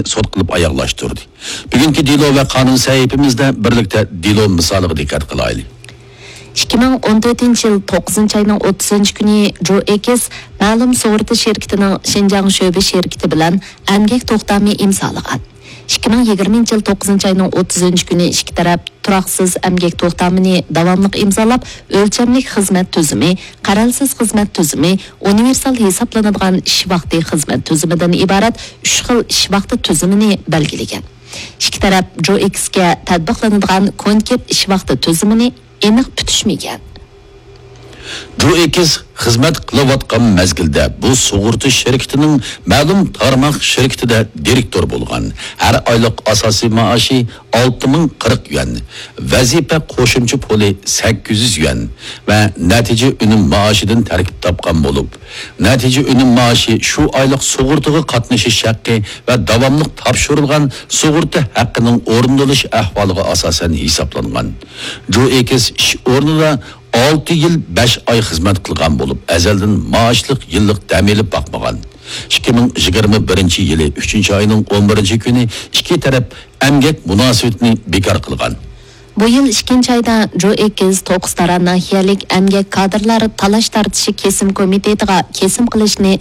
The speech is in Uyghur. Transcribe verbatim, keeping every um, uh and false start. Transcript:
سوت قىلىپ ئاياغلاشتۇردى. بۈگۈنكى دېلو ۋە قانۇن سەھىپىمىزدە بىرلىكتە دېلو مىسالىغا دىققەت قىلايلى. ئىككى مىڭ ئون تۆتىنچى يىل توققۇزىنچى ئاينىڭ ئوتتۇزىنچى كۈنى جو ئېكس مەلۇم سۇغۇرتا شىركىتىنىڭ شىنجاڭ شۆبە شىركىتى بىلەن ئەمگەك توختامى ئىمزالىغان. ئىككى مىڭ يىگىرمىنچى يىل توققۇزىنچى ئاينىڭ ئوتتۇزىنچى كۈنى ئىككى تەرەپ تۇراقسىز ئەمگەك توختامىنى داۋاملىق ئىمزالاپ، ئۆلچەملىك خىزمەت تۈزۈمى، قەرەلسىز خىزمەت تۈزۈمى، ئۇنىۋېرسال ھېسابلىنىدىغان ئىش ۋاقتى خىزمەت تۈزۈمىدىن ئىبارەت ئۈچ خىل ئىش ۋاقتى تۈزۈمىنى بەلگىلىگەن. ئىككى تەرەپ جو ئېكسكە تەتبىقلىنىدىغان كونكرېت ئىش ۋاقتى تۈزۈمىنى ئېنىق پۈتۈشمىگەن. جو ئېكس خىزمەت قىلىۋاتقان مەزگىلدە بۇ سۇغۇرتا شىركىتىنىڭ مەلۇم تارماق شىركىتىدە دىرېكتور بولغان. ھەر ئايلىق ئاساسىي مائاشى ئالتە مىڭ قىرىق يۈەن، ۋەزىپە قوشۇمچە پۇلى سەككىز يۈز يۈەن ۋە نەتىجە ئۈنۈم مائاشىدىن تەركىب تاپقان بولۇپ، نەتىجە ئۈنۈم مائاشى شۇ ئايلىق سۇغۇرتىغا قاتنىشىش ھەققى ۋە داۋاملىق تاپشۇرۇلغان سۇغۇرتا ھەققىنىڭ ئورۇندىلىش ئەھۋالىغا ئاساسەن ھېسابلانغان. جو ئېكس ئىش ئورنىدا ئالتە يىل بەش ئاي خىزمەت قىلغان بولۇپ، ئەزەلدىن مائاشلىق يىللىق دەم ئېلىپ باقمىغان. ئىككى مىڭ يىگىرمە بىرىنچى يىلى ئۈچىنچى ئاينىڭ ئون بىرىنچى كۈنى ئىككى تەرەپ ئەمگەك مۇناسىۋىتىنى بىكار قىلغان. بۇ يىل ئىككىنچى ئايدا جو ئېكس توققۇز تارا ناھىيەلىك ئەمگەك كادىرلار تالاش تارتىشى كېسىم كومىتېتىغا كېسىم قىلىشنى